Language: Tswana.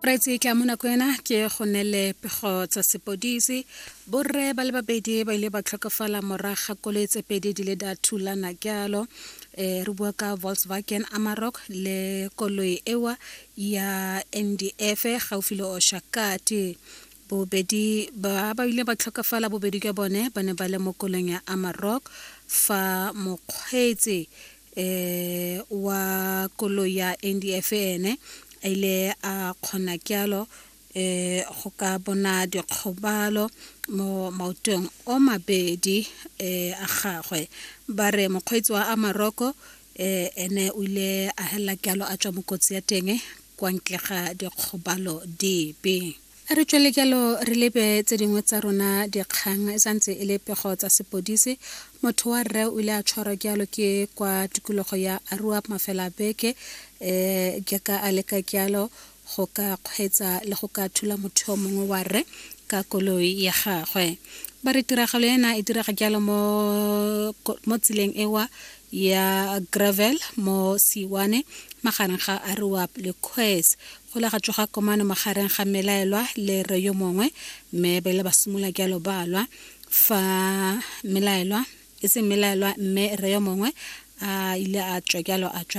Moreetsi ke a mo nako ena ke go nele pego tsa sepodisi. Borre ba le babedi ba ile ba tlhokafala morago ga koloi tse pedi di le da thulana jalo. Re bua ka Volkswagen Amarok le koloi ewa ya NDF gaufi le Oshakati. Bobedi ba ba ile ba tlhokafala bobedi jwa bone ba ne ba le mo koloing ya Amarok fa mokgweetsi wa koloi ya NDF ene a ile a kgona kyalo go ka bona dikgobalo mo maotong o mabedi a gagwe. Ba re mokgweetsi wa Amarok ene o ile a helela kyalo a tswa mo kotsi ya teng kwa ntle ga dikgobalo dipe. A re tswele jalo re lebe tse dingwe tsa rona dikgang e santse e le pego tsa sepodisi. Motho wa rre o ile a tshwarwa jalo ke kwa tikologo ya Aruap mafela a beke jaaka a leka jalo go ka kgweetsa le go ka thula motho yo mongwe wa rre ka koloi ya gagwe. Ba re tiragalo ena e direga jalo mo tseleng ewa ya gravel mo Siwane magareng ga Aruap le Kgwes. Go ile ga tsoga komano magareng ga mmelaelwa le rre yo mongwe mme ba ile ba simolola jalo ba lwa fa mmelaelwa e seng mmelaelwa mme rre yo mongwe a ile a tswa jalo a tswa.